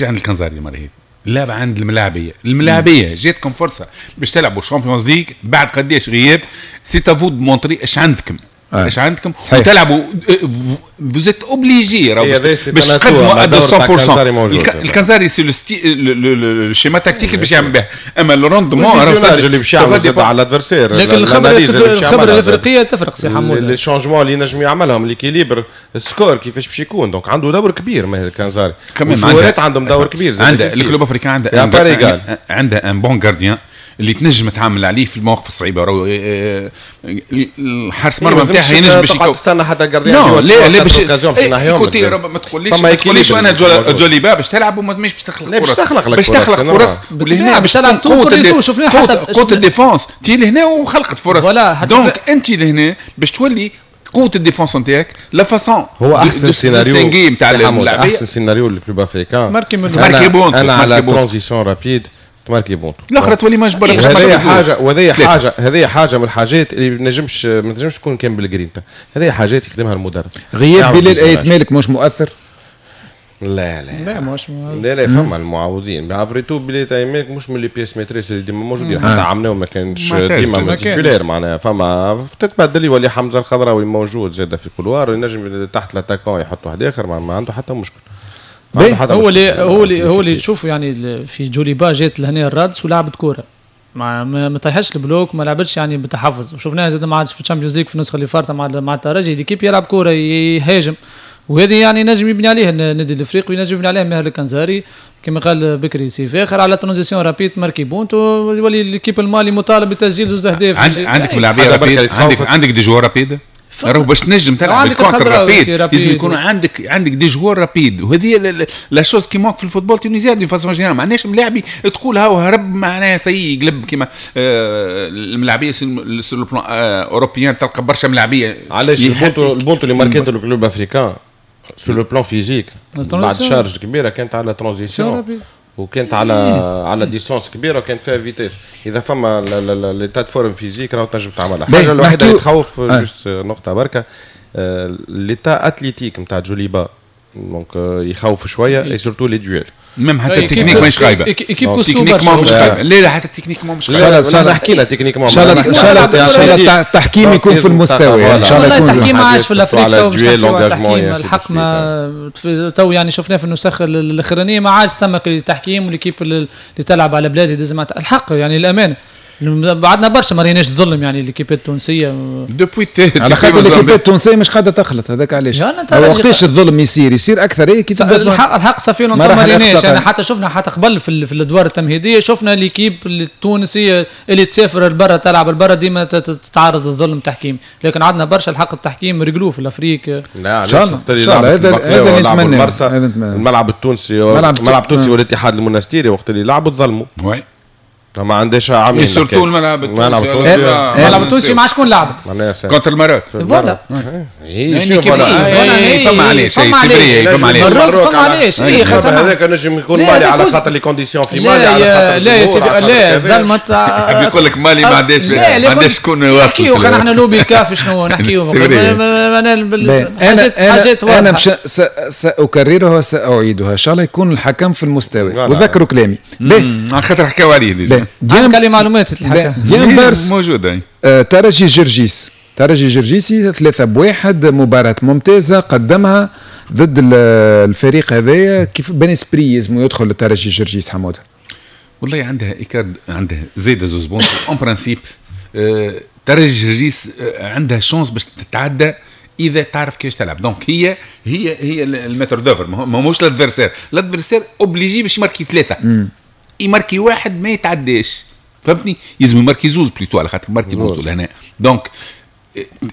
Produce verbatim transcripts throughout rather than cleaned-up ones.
عند الكنزاري المرة هذه، اللعبة عند الملاعبيه. الملاعبيه جاتكم فرصة باش تلعبوا Champions League بعد قداش غياب، c'est à vous de montrer اش عندكم، اش عندكم وتلعبوا، vous êtes obligés باش تقدموا مية بالمية. الكنزاري c'est le schéma tactique اللي باش يعمل به، اما ال rendement اللي باش يعمل على l'adversaire. لكن الخبره الخبرة الافريقية تفرق سي حمود، les changements اللي نجم يعملهم، l'équilibre، ال score كيفاش باش يكون، donc عنده دور كبير ماهر الكنزاري. الجوارات عندهم دور كبير. عنده ال Club Africain عنده عنده un bon gardien اللي تنجم تعامل عليه في المواقف الصعيبه. راهو آه، الحارس مرمى نتاعها ينجم باش تستنى حتى gardien. لا لا، باش écoutez، ما تقوليش ما تقوليش انا جوليبا باش تلعب وما باش تخلق فرص. باش تخلق لك باش تخلق فرص، ولهنا باش تلعب قوة شفنا حتى قوة ال défense تي لهنا وخلقت فرص، donc انت لهنا باش تولي قوة ال défense نتاعك، la façon هو احسن سيناريو نتاع احسن سيناريو لل Club Africain ماركي ماركي بونت. انا على transition rapide تماركي بونتو. الاخرى تولي مجبر. هذه حاجه وهذه حاجه هذه حاجة من الحاجات اللي ما نجمش ما تنجمش تكون كان بالجرينتا، هذه حاجات يخدمها المدرب. غياب بلال ايت مالك مش مؤثر؟ لا لا لا، مش لا لا، فما المعوضين. après tout بلال ايت مالك مش من les pièces maîtresses اللي ديما موجودين، حتى عملناه ما كانش ديما titulaire، معناها فما تتبدل، يولي حمزة الخضراوي موجود زاد في ال couloir، ينجم تحت l'attaquant يحط واحد اخر، ما, ما عنده حتى مشكل. هو اللي هو اللي هو اللي شوف يعني في جوليبا جات لهنا الرادس ولعبت كوره، ما ما طيحش ال bloc، ما لعبتش يعني بتحفظ، وشفناها زاد ما عادش في ال Champions League في النسخة اللي فاتت مع مع الترجي، l'équipe يلعب كوره، يهاجم، وهذه يعني نجم يبني عليه النادي الافريقي وينجم يبني عليه ماهر الكنزاري كما قال بكري سي فاخر على transition rapide ماركي بونتو، يولي l'équipe المالي مطالب بتسجيل زوج اهداف. عندك ملاعبيه rapides، عندك عندك des joueurs rapides، راهو باش تنجم تلعب ال contre rapide لازم يكون عندك عندك des joueurs rapides، وهذه la chose qui manque في ال football tunisien d'une façon générale. ما عندناش ملاعبي تقول هاو هرب، معناها ça y est يقلب كيما آه الملاعبيه sur le plan européen، تلقى برشا ملاعبيه. علاش البونتو البونتو اللي ماركيتو ال Club Africain sur le plan physique بعد charge كبيرة كانت على transition وكانت على على distance كبيرة وكانت فيها vitesse. اذا فما l'état de forme physique راهو تنجم تعملها. الحاجة الوحيدة اللي تخوف آه. juste نقطة بركه، l'état athlétique نتاع جوليبا donc يخوف شويه، et surtout les duels. même حتى التكنيك ماهيش خايبه، techniquement مش خايبه، لا لا، حتى techniquement مش خايبه. ان شاء الله نحكي لها techniquement. ان شاء الله ان شاء الله ان شاء الله التحكيم يكون في المستوى. ان شاء الله يكون التحكيم ما عادش في الافريقيا. الحق ما تو يعني شفناه في النسخ الاخرانيه، ما عادش ثم التحكيم و l'équipe اللي تلعب على بلادها لازم الحق يعني الامانة بعدنا برشا ما ريناش ظلم يعني l'équipe التونسيه. depuis على خاطر l'équipe التونسية مش قاعدة تخلط، هذاك علاش. وقتاش الظلم يصير يصير اكثر إيه كي الحق الحق ça fait ما ريناش يعني، حتى شفنا حتى قبل في, في الادوار التمهيدية شفنا l'équipe التونسية اللي تسافر لبرا تلعب لبرا ديما تتعرض للظلم التحكيمي، لكن عندنا برشا الحق التحكيم رجلوه في l'Afrique. لا. ان شاء الله ان شاء الله، هذا هذا نتمنى. الملعب التونسي الملعب التونسي والاتحاد المونستيري وقت اللي لعبوا تظلموا. oui. ما عندهاش عامين. surtout الملعب التونسي. الملعب التونسي مع شكون لعبت؟ contre ال Maroc. voilà. هي فما علاش، فما علاش. فما علاش، فما علاش. هذاك نجم يكون مالي على خاطر les conditions في مالي، على خاطر لا يا سيدي، لا ظلمت. يقول لك مالي ما عندهاش ما عندهاش شكون واصل. نحكيو نحن لوبي الكاف، شنو نحكيو؟ انا حاجات انا ساكررها وساعيدها، ان شاء الله يكون الحكم في المستوى وذكروا كلامي. على خاطر حكاو عليه. عندك عليه معلومات الحكم. ديان بارس موجوده. آه ترجي جرجيس، ترجي جرجيسي ثلاثة بواحد، مباراة ممتازة قدمها ضد الفريق هذايا. كيف bon esprit يلزم يدخل الترجي جرجيس حمودة؟ والله عندها écart، عندها زايدة زوز points en principe. آه ترجي جرجيس آه عندها chance باش تتعدى اذا تعرف كيفاش تلعب، donc هي هي هي ال maître d'œuvre، ماهوش l'adversaire. l'adversaire obligé باش يماركي ثلاثه، يماركي واحد ما يتعداش، فهمتني؟ يلزم يماركي زوز plutôt على خاطر ماركي بونتو لهنا، donc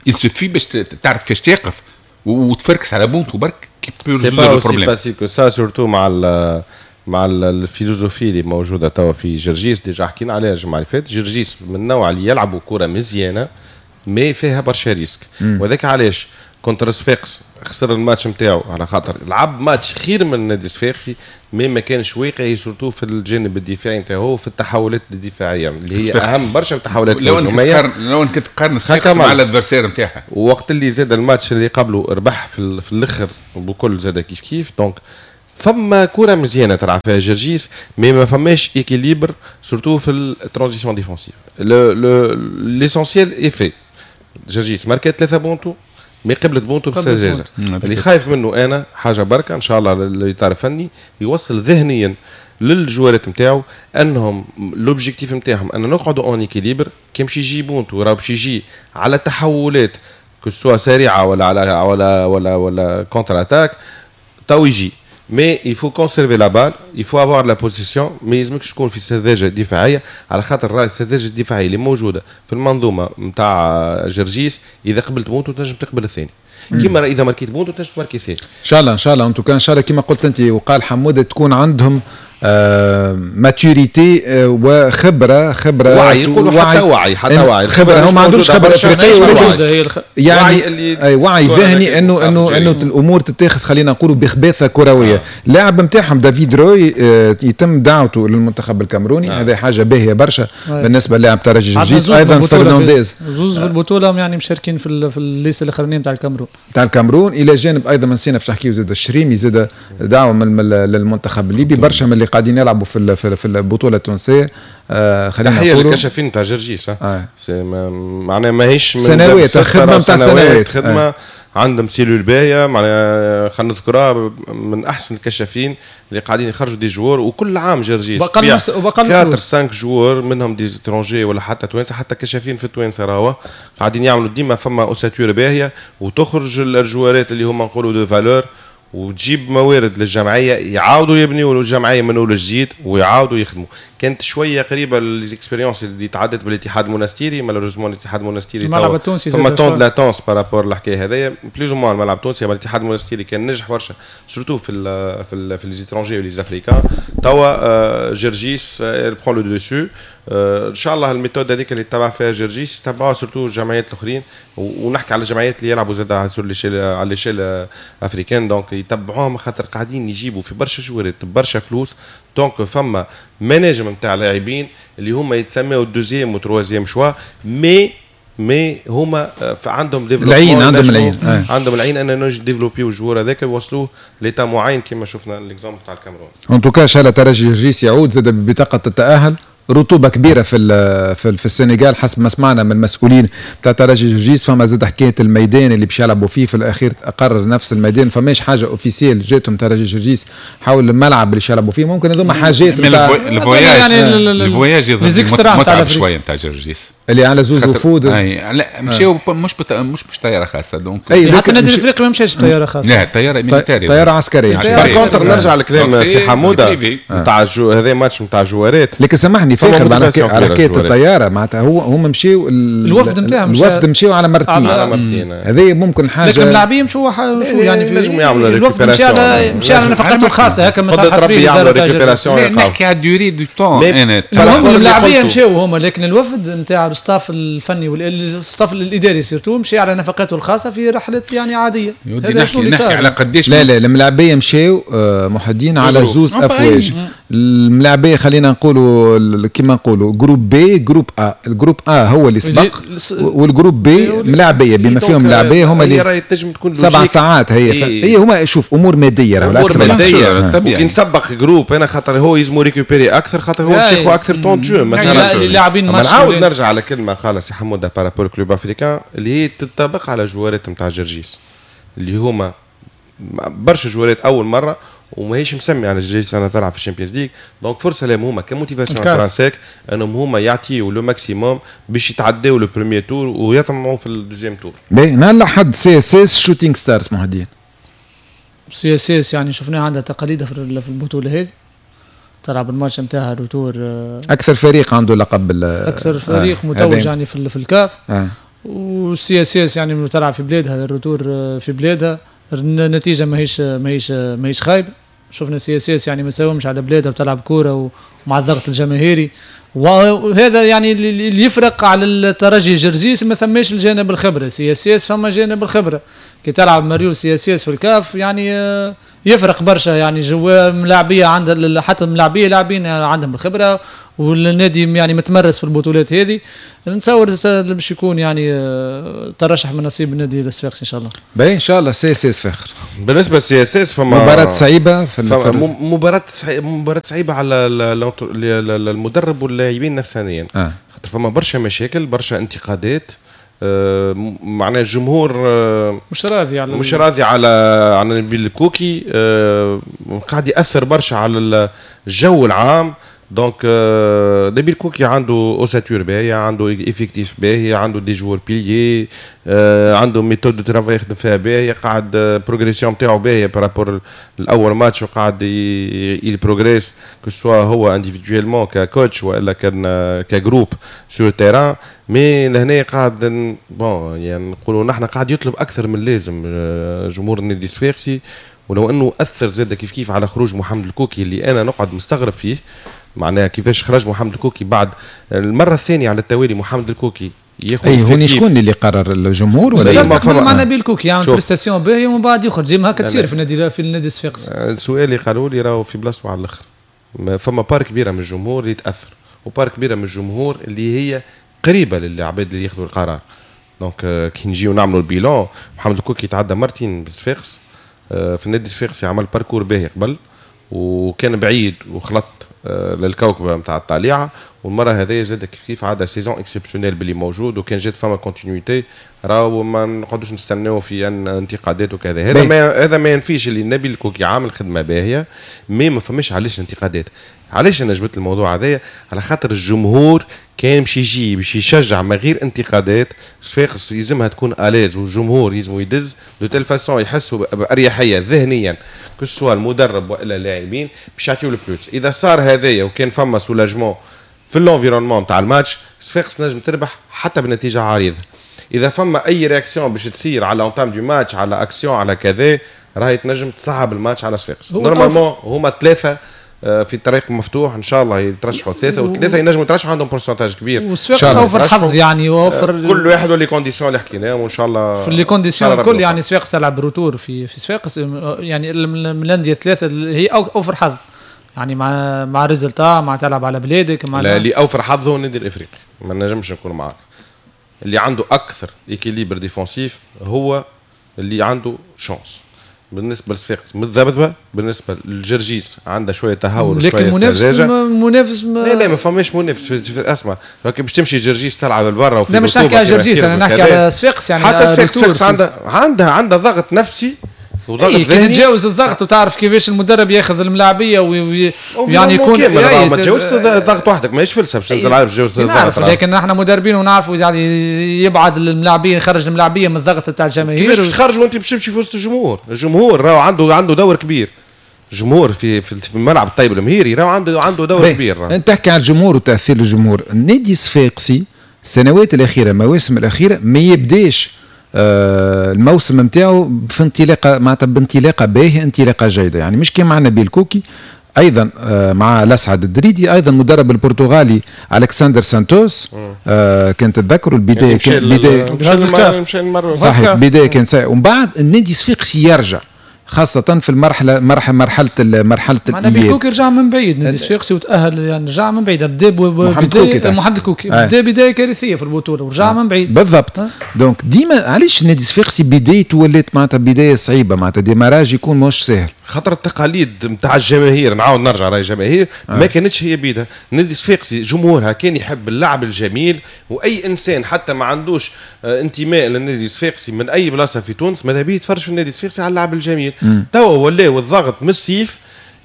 il suffit باش تعرف كيفاش تقف وتفركس على بونتو برك. c'est pas aussi facile que ça، surtout مع ال مع ال philosophie اللي موجودة توا في جرجيس. déjà حكينا عليها الجمعة اللي فاتت، جرجيس من النوع اللي يلعبوا كره مزيانه mais فيها برشا risques، وذاك علاش contre صفاقس خسر الماتش نتاعو، على خاطر لعب ماتش خير من النادي الصفاقسي mais ما كانش واقعي surtout في الجانب الدفاعي نتاعو، في التحولات الدفاعية اللي هي اهم برشا من التحولات لو الهجوميه. لو انك تقارن صفاقس مع l'adversaire نتاعها. وقت اللي زاد الماتش اللي قبله ربح في, في الاخر بكل زاد كيف كيف، donc فما كره مزيانه تلعب فيها جرجيس، mais ما فماش équilibre surtout في ال transition défensive. l'essentiel est fait، جرجيس ماركات ثلاثة بونتو mais قبلت بونتو بسجاجه. اللي خايف منه انا حاجة بركه، ان شاء الله الاطار الفني يوصل ذهنيا للجوارات نتاعو انهم l'objectif نتاعهم ان نقعدوا en équilibre. كي يمشي يجي بونتو راه باش يجي على تحولات que ce soit سريعة ولا على ولا ولا ولا contre-attaque تو يجي، mais il faut conserver la balle، il faut avoir la possession، ما يلزمكش تكون في سذاجة دفاعيه، على خاطر راهي السذاجة الدفاعية اللي موجودة في المنظومة نتاع جرجيس، اذا قبلت بونتو تنجم تقبل الثاني، كيما اذا ماركيت بونتو تنجم تماركي الثاني. ان شاء الله ان شاء الله، en tout cas ان شاء الله كما قلت انت وقال حموده تكون عندهم آه maturité آه وخبره خبره وعي، يقولوا حتى وعي، حتى وعي خبره، هم ما عندهمش خبره افريقية ولكن يعني وعي، اي وعي ذهني انه انه انه الامور تتاخذ خلينا نقولوا بخباثه كروية. اللاعب آه. نتاعهم دافيد روي آه يتم دعوته للمنتخب الكاميروني، آه. هذا حاجة باهيه برشا آه. بالنسبة للاعب ترجي جرجيس. ايضا فرنانديز زوز في البطولة يعني مشاركين في في ال liste الاخرانية نتاع الكاميرون نتاع الكاميرون، الى جانب ايضا من سينا باش نحكيو زاد الشريمي زاد دعوه من للمنتخب الليبي، برشا من اللي قاعدين يلعبوا في في البطولة التونسية. آه خلينا تحية للكشافين تاع جرجيس، آه. معناها ماهيش من سنوات خدمة نتاع سنوات خدمة آه. عندهم cellule باهيه، معناها خلينا نذكرها من احسن الكشافين اللي قاعدين يخرجوا des joueurs، وكل عام جرجيس بقى أربعة خمسة joueurs منهم des étrangers ولا حتى توانسة، حتى كشافين في التوانسة راهو قاعدين يعملوا ديما فما ossature باهيه، وتخرج الجوارات اللي هما نقولوا de valeur، وتجيب موارد للجمعية يعاودوا يبنيوا الجمعية من اول جديد ويعاودوا يخدموا. كانت شوية قريبه les expériences اللي تعدت بالاتحاد المونستيري، malheureusement الاتحاد المونستيري الملعب التونسي فما temps latence par rapport الحكاية هذايا plus ou moins. الملعب التونسي الاتحاد المونستيري كان نجح برشا surtout في ال في ال في les étrangers و les Africains. توا جرجيس prend le dessus، ان شاء الله ال méthode هذيك اللي تبع فيها جرجيس تبعوها surtout الجمعيات الاخرين، ونحكي على الجمعيات اللي يلعبوا زاد على l'échelle على l'échelle africaine، donc يتبعوهم خاطر قاعدين يجيبوا في برشا جوارات برشا فلوس. donc فما مناجم نتاع لاعبين اللي هما يتسموا deuxième و troisième choix، mais mais هما عندهم العين، عندهم العين عندهم العين ان نجم ديفلوبيو ال joueur هذاك يوصلوه l'état معين كما شفنا l'exemple تاع الكاميرون. en tout cas ان شاء الله ترجي جرجيس يعود زاد ببطاقه التاهل. رطوبة كبيرة في في, في السنغال حسب ما سمعنا من المسؤولين تاع ترجي جرجيس. فما زاد حكاية الميدان اللي باش يلعبوا فيه، في الاخير قرر نفس الميدان، فماش حاجة officielle جاتهم ترجي جرجيس حول الملعب اللي يلعبوا فيه. ممكن هذوما حاجات ال voyage يعني ال voyage يظهر متعب شوية نتاع جرجيس اللي على زوز وفود. لا مشاو مش بت... مش مش طيارة خاصة donc حتى النادي الافريقي ما مشاش بطيارة خاصة. لا طيارة militaire، طيارة عسكرية. par contre نرجع لكلام سي حموده نتاع هذا ماتش نتاع جوارات، لكن سامحني فاخر على حكاية الطيارة معناتها هو هم مشاو الوفد نتاعهم الوفد مشاو على مرتين على مرتين هذه ممكن حاجة، لكن اللاعبين مشوا شو يعني نجموا يعملوا الوفد مشى على مشى على نفقاته الخاصة هكا ما صحت به نحكي على durée du temps. المهم اللاعبين مشاو هما، لكن الوفد نتاع ال staff الفني وال staff الاداري surtout مشى على نفقاته الخاصة في رحله يعني عادية. نحكي نحكي على قداش لا لا الملاعبيه مشاو محدين على زوز افواج. الملاعبيه خلينا نقولوا كيما نقولوا groupe B groupe A، ال groupe A هو اللي سبق وال groupe B ملاعبيه بما فيهم ملاعبيه هما اللي سبع ساعات هي إيه. هي هما شوف امور مادية راهو امور مادية. وكي نسبق groupe انا خاطر هو يلزمو récupérer اكثر خاطر هو ياخذ اكثر temps de jeu مثلا. اللاعبين نعاود نرجع على كلمة قالها سي حموده par rapport Club Africain اللي هي تطبق على جوارات نتاع جرجيس اللي هما برشا جوارات اول مرة وماهيش مسمي على جرجيس انا تلعب في ال Champions League، donc فرصة لهم هما ك motivation intrinsèque انهم هما يعطيو le maximum باش يتعداو le premier tour ويطمعوا في ال deuxième tour. باهي نهار الاحد CSS شوتينغ ستارز مهديين. CSS يعني شفناها عندها تقاليدها في البطولة هذه، تلعب الماتش نتاعها retour. اكثر فريق عنده لقب اكثر فريق آه. متوج يعني في في الكاف آه. وال CSS يعني تلعب في بلادها ال retour في بلادها، النتيجة ماهيش ماهيش ماهيش خايبة. شفنا CSS يعني ما ساومش على بلادها وتلعب كورة ومع الضغط الجماهيري، وهذا يعني اللي يفرق على الترجي جرجيس ما ثماش الجانب الخبرة. CSS فما جانب الخبرة، كي تلعب مريول CSS في الكاف يعني يفرق برشا يعني جو ملاعبيه عند حتى الملاعبيه لاعبين عندهم الخبرة والنادي يعني متمرس في البطولات هذه. نتصور باش يكون يعني ترشح من نصيب النادي الصفاقسي ان شاء الله. باهي ان شاء الله CSS فاخر. بالنسبة لل CSS فما مباراة صعيبة في مباراة مباراة صعيبة على المدرب واللاعبين نفسانيا. آه. خاطر فما برشا مشاكل، برشا انتقادات، آه معناها الجمهور آه مش راضي على مش راضي على على نبيل الكوكي، آه قاعد ياثر برشا على الجو العام. donc نبيل كوكي عنده ossature باهيه، عنده effectif باهي، عنده des joueurs piliers، عنده méthode de travail يخدم فيها باهيه، قاعد progression نتاعو باهيه par rapport الاول ماتش، وقاعد il progresse que ce soit هو individuellement ك coach والا كان ك groupe sur terrain. mais لهنا قاعد bon يعني نقولوا نحن قاعد يطلب اكثر من اللازم جمهور النادي الصفاقسي، ولو انه اثر زاد كيف كيف على خروج محمد الكوكي اللي انا نقعد مستغرب فيه. معناها كيفاش خرج محمد الكوكي بعد المرة الثانية على التوالي محمد الكوكي ياخذ. اي هوني شكون اللي قرر، الجمهور ولا ما مع نبيل كوكي يعمل يعني prestation باهيه ومن بعد يخرج زي ما هكا تصير في النادي في النادي الصفاقسي. السؤال اللي قالوا لي راهو في بلاصته على الاخر، فما part كبيرة من الجمهور اللي يتاثر، و part كبيرة من الجمهور اللي هي قريبه للعباد اللي ياخذوا القرار. donc كي نجيو نعملوا ال bilan، محمد الكوكي تعدى مرتين بالصفاقس، في النادي الصفاقسي عمل parcours باهي قبل وكان بعيد وخلط للكوكبه نتاع الطليعة، والمرة هذه زاد كيف كيف عاد saison exceptionnelle باللي موجود، وكان جات فما continuité راهو ما نقعدوش نستناو في ان انتقادات وكذا. هذا ما هذا ما ينفيش اللي النبي الكوكي عامل خدمة باهيه، mais ما فماش علاش انتقادات. علاش انا جبت الموضوع هذايا؟ على خاطر الجمهور كان باش يجي باش يشجع من غير انتقادات. صفاقس يلزمها تكون à l'aise، والجمهور يلزمو يدز de telle façon يحسوا باريحية ذهنيا que ce soit المدرب والا اللاعبين باش يعطيو ال plus. اذا صار هذايا وكان فما soulagement في l'environnement تاع الماتش، صفاقس نجم تربح حتى بنتيجة عريضة. اذا فما اي réaction باش تصير على l'entame du match، على اكسيون، على كذا، راهي تنجم تصعب الماتش على صفاقس. normalement هما ثلاثة في الطريق مفتوح، ان شاء الله يترشحوا ثلاثة، وثلاثة ينجموا يترشحوا عندهم pourcentage كبير. وصفاقس اوفر حظ يعني، وفر كل واحد و les conditions اللي حكيناهم، وان شاء الله في les conditions الكل يعني. صفاقس تلعب retour في في صفاقس، يعني من الاندية الثلاثة هي اوفر حظ يعني، مع مع résultat، مع تلعب على بلادك، مع لا اللي اوفر حظ هو النادي الافريقي، ما نجمش نكون معاك. اللي عنده اكثر équilibre défensif هو اللي عنده chance. بالنسبة لصفاقس متذبذبه، بالنسبة للجرجيس عندها شوية تهور وشوية لكن منافس منافس ما لا لا ما فماش منافس. اسمع باش تمشي جرجيس تلعب لبرا وفي لا مش نحكي على جرجيس، انا نحكي على صفاقس يعني. حتى صفاقس عندها عندها عندها ضغط نفسي وضغط ذهني. تتجاوز الضغط وتعرف كيفاش المدرب ياخذ الملاعبيه ويعني يكون يعني ما تجاوزش الضغط وحدك، ماهيش فلسفة باش تنزل على تجاوز الضغط. لكن احنا مدربين ونعرفوا يعني يبعد الملاعبيه، يخرج الملاعبيه من الضغط تاع الجماهير. كيفاش تخرج وانت باش تمشي في وسط الجمهور؟ الجمهور راهو عنده عنده دور كبير. الجمهور في في الملعب الطيب المهيري راهو عنده عنده دور كبير. انت تحكي على الجمهور وتاثير الجمهور. النادي الصفاقسي السنوات الاخيرة، المواسم الاخيرة، ما يبداش آه الموسم نتاعو في انطلاقة معناتها بانطلاقه باهيه، انطلاقة جيدة يعني، مش كيما مع نبيل كوكي، ايضا آه مع الاسعد الدريدي، ايضا المدرب البرتغالي الكسندر سانتوس. آه كان تتذكروا البداية كان بداية صحيح، بداية كان سيئه، ومن بعد النادي الصفاقسي يرجع خاصة في المرحلة مرحلة مرحلة مرحلة الإياب. نبيل كوكي رجع من بعيد نادي الصفاقسي وتأهل يعني، رجع من بعيد. بدا محمد كوكي محمد الكوكي بدا بداية كارثية في البطولة ورجع آه. من بعيد بالضبط. آه. donc ديما علاش النادي الصفاقسي بدايته ولات معناتها بداية صعيبة، معناتها démarrage يكون مش سهل، خاطر التقاليد نتاع الجماهير. نعاود نرجع راي الجماهير آه. ما كانتش هي بيدها. النادي الصفاقسي جمهورها كان يحب اللعب الجميل، واي انسان حتى ما عندوش انتماء للنادي الصفاقسي من اي بلاصة في تونس ماذا بيه يتفرج في النادي الصفاقسي على اللعب الجميل. توا ولاو الضغط من الصيف،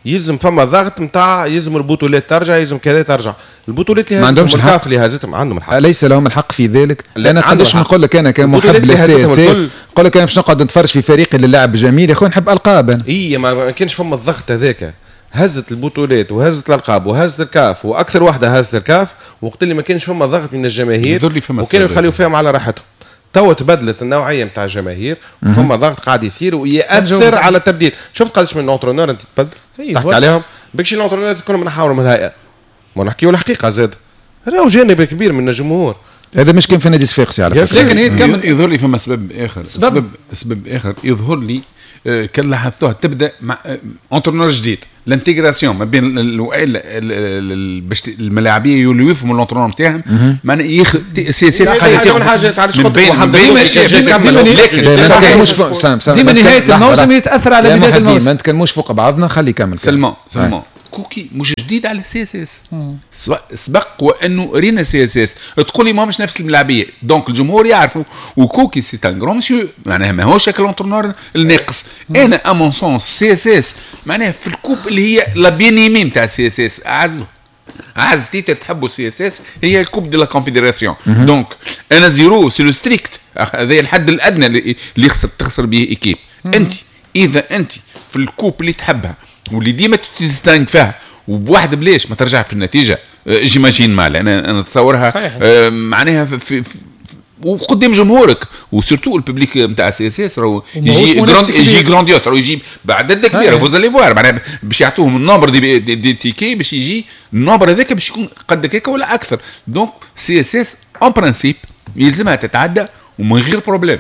يلزم فما ضغط نتاع يلزم البطولات ترجع، يلزم كذا ترجع. البطولات اللي ما عندهمش الحق، اللي هزتهم عندهم الحق، ليس لهم الحق في ذلك. انا قداش نقول لك انا كمحب لل CSS، نقول لك انا باش نقعد نتفرج في فريقي اللي لعب جميل يا خويا نحب القاب انا. اي ما كانش فما الضغط هذاك، هزت البطولات وهزت الالقاب وهزت الكاف، واكثر واحدة هزت الكاف وقت اللي ما كانش فما ضغط من الجماهير وكانوا يخليوا فيهم على راحتهم. توا تبدلت النوعية نتاع الجماهير وفما ضغط قاعد يصير ويأثر على التبديل. شفت قداش من l'entraîneur انت تبدل تحكي عليهم بكشي l'entraîneur كلهم نحاولوا من الهيئة، ما نحكيو الحقيقة زاد راهو جانب كبير من الجمهور. هذا مش كان في نادي صفاقسي على فكرة، لكن هي تكمل. يظهر لي فما سبب اخر، سبب سبب اخر يظهر لي كان لاحظتوها تبدا مع entraîneur جديد، l'intégration ما بين باش الملاعبيه يولوا يفهموا l'entraîneur نتاعهم، معناها يخ CSS قاعدة تاخذ حاجات. علاش قلت لكن ديما نهاية الموسم يتاثر على بداية الموسم. ما نتكلموش فوق بعضنا، خلي يكمل. seulement seulement كوكي مش جديد على ال CSS، سبق وانه رينا CSS تقول لي ما مش نفس الملاعبيه، donc الجمهور يعرفوا، وكوكي c'est un grand monsieur، معناها ماهوش l'entraîneur الناقص. انا à mon sens CSS معناها في ال coupe اللي هي la bien-aimée نتاع CSS، اعز اعز titre تحبوا CSS هي ال coupe de la confédération، donc un à zéro c'est le strict، هذا الحد الادنى اللي يخسر تخسر به équipe. انت اذا انت في ال coupe اللي تحبها واللي ديما تستانك فيها وبواحد بلاش ما ترجع في النتيجة، j'imagine mal انا انا نتصورها آه معناها في, في, في وقدام جمهورك و surtout ال public نتاع CSS راهو يجي grand يجي grandiose، راهو يجي بعدد كبير، vous allez voir معناها باش يعطوهم ال nombre des, des, des tickets باش يجي ال nombre هذاك باش يكون قد هكاك ولا اكثر. donc CSS en principe يلزمها تتعدى ومن غير problème.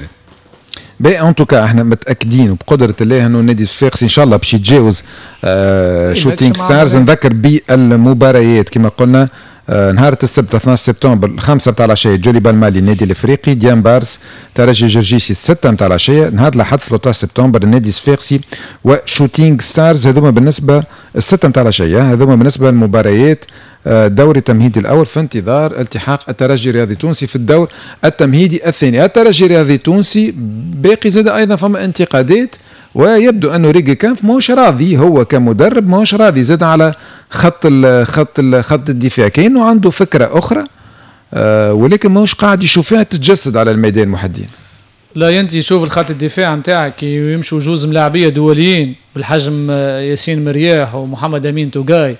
باهي en tout cas احنا متاكدين وبقدره الله انه النادي الصفاقسي ان شاء الله باش يتجاوز آه شوتينغ ستارز. نذكر بالمباريات كما قلنا، آه نهار السبت اثناش سبتمبر الخمسة نتاع العشية جوليبا المالي النادي الافريقي، ديامبارس ترجي جرجيسي الستة نتاع العشية. نهار الاحد ثلاثة عشر سبتمبر النادي الصفاقسي وشوتينغ ستارز، هذوما بالنسبة الستة نتاع العشية، هذوما بالنسبة للمباريات الدوري التمهيدي الاول، في انتظار التحاق الترجي الرياضي التونسي في الدور التمهيدي الثاني. الترجي الرياضي التونسي باقي زاد ايضا فما انتقادات، ويبدو انه ريجيكامب ماهوش راضي، هو كمدرب ماهوش راضي زاد على خط ال خط ال خط الدفاع، كانه عنده فكرة اخرى آه ولكن ماهوش قاعد يشوفها تتجسد على الميدان. محدين لا انت شوف الخط الدفاع نتاعك يمشوا جوز ملاعبيه دوليين بالحجم ياسين مرياح ومحمد امين توغاي،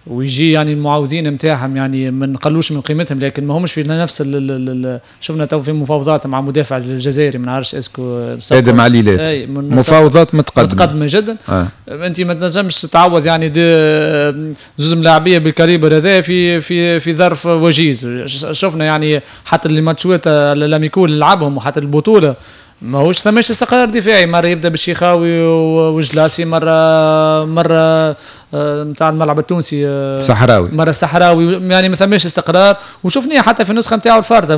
ويجي يعني المعوضين نتاعهم يعني ما نقلوش من قيمتهم، لكن ما همش في نفس ال ال شفنا تو في مفاوضات مع مدافع الجزائري ما نعرفش est-ce que ادم عليلات، مفاوضات متقدمة متقدمة جدا. آه. انت ما تنجمش تعوض يعني زوز ملاعبيه بال calibre هذا في في في ظرف وجيز. شفنا يعني حتى الماتشات l'amicaux اللي لعبهم وحتى البطولة ماهوش ثماش استقرار دفاعي، مرة يبدا بالشيخاوي وجلاسي، مرة مرة نتاع الملعب التونسي صحراوي، مرة الصحراوي، يعني ما ثماش استقرار. وشفناه حتى في النسخة نتاعو الفارطه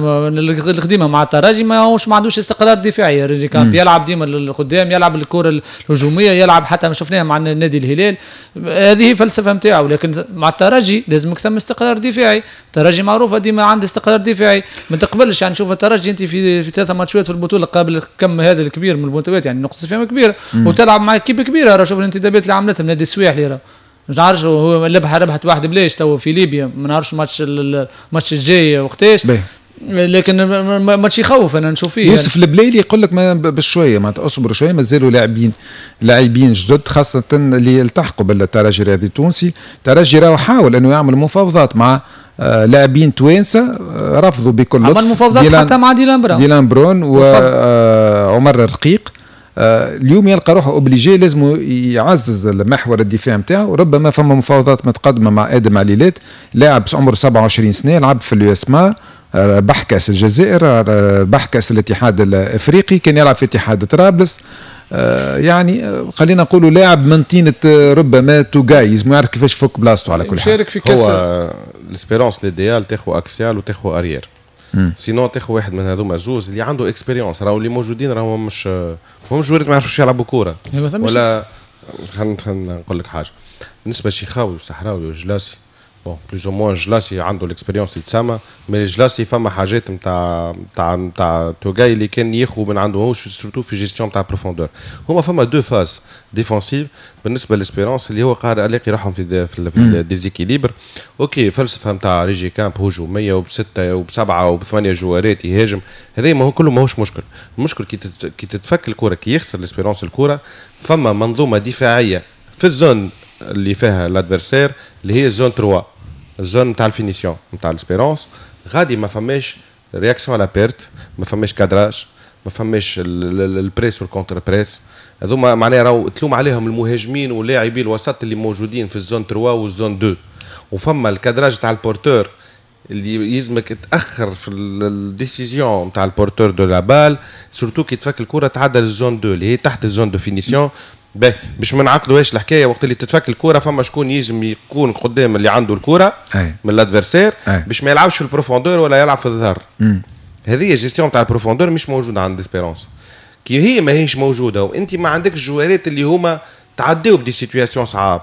القديمة مع الترجي ماهوش ما عندوش استقرار دفاعي. ريجيكامب يلعب ديما للقدام، يلعب الكره الهجومية، يلعب حتى ما شفناها مع النادي الهلال، هذه فلسفة نتاعو. لكن مع الترجي لازمك ثم استقرار دفاعي، الترجي معروفة ديما عنده استقرار دفاعي، ما تقبلش يعني شوف الترجي انت في في ثلاثة ماتشات في البطولة قابل كم هذا الكبير من البونتوات، يعني نقطة فيها كبيرة، وتلعب مع équipe كبيرة. راه شوف الانتدابات اللي عملتهم نادي السواحلي، راه مش عارف هو ربح ربحت واحد بلاش تو في ليبيا، ما نعرفش الماتش الماتش الجاي وقتاش، لكن ماتش يخوف انا نشوف فيه. يوسف يعني. البليلي يقول لك ما بشوية معناتها اصبروا شوية، مازالوا لاعبين لاعبين جدد خاصة اللي التحقوا بالترجي الرياضي التونسي. الترجي راهو حاول انه يعمل مفاوضات مع لاعبين توانسة، رفضوا بكل لطف. عمل مفاوضات حتى مع ديلان برون، ديلان برون وعمر الرقيق. اليوم يلقى روحه obligé لازم يعزز المحور الدفاع نتاعو، ربما فما مفاوضات متقدمة مع ادم عليلات، لاعب عمره سبعة وعشرين سنة، لعب في اليو اس ما، ربح كاس الجزائر، ربح كاس الاتحاد الافريقي، كان يلعب في اتحاد طرابلس، يعني خلينا نقولوا لاعب من طينه ربما توغاي، لازم يعرف كيفاش يفك بلاصته على كل حال. شارك في كاس هو l'Espérance l'idéal تاخذ axial وتاخذ arrière، sinon تاخذ واحد من هذوما زوز اللي عنده expérience. راهو اللي موجودين راهو مش هم جوارات ما يعرفوش يلعبوا كورة ولا. خلينا نقول لك حاجة بالنسبة لشيخاوي وصحراوي وجلاسي، bon plus ou moins جلاسي عنده l'expérience اللي تسمى، mais جلاسي فما حاجات نتاع نتاع نتاع توغاي اللي كان ياخذ من عنده هو surtout في gestion نتاع profondeur. هما فما deux phases défensives بالنسبة ل l'Espérance اللي هو قاعد يلاقي روحهم في في, في déséquilibre. OK فلسفة نتاع ريجيكامب هجومية وبسته وبسبعه وبثمانيه جوارات يهاجم، هذا ما هو كله ماهوش مشكل. المشكل كي كي تتفك الكره، كي يخسر l'Espérance الكره، فما منظومة دفاعية في ال zone اللي فيها l'adversaire اللي هي zone ثلاثة، ال zone نتاع ال finition نتاع l'Espérance، غادي ما فماش réaction à la perte، ما فماش cadrage، ما فماش ال press وال contre-press. هذوما معناها راهو تلوم عليهم المهاجمين ولاعبي الوسط اللي موجودين في ال zone ثلاثة وال zone اثنين، وفما ال cadrage تاع ال porteur. اللي يلزمك تاخر في ال décision نتاع ال porteur de la balle، surtout كي تفك الكره تعدى لل zone deux اللي هي تحت ال zone de finition. باهي باش ما نعقدوهاش الحكاية، وقت اللي تتفك الكره فما شكون يلزم يكون قدام اللي عنده الكره من l'adversaire باش ما يلعبش في ال profondeur ولا يلعب في الظهر. هذه gestion تاع ال profondeur مش موجودة عند Espérance. كي هي ماهيش موجودة وانت ما عندكش joueur ات اللي هما تعديو ب des situations صعاب،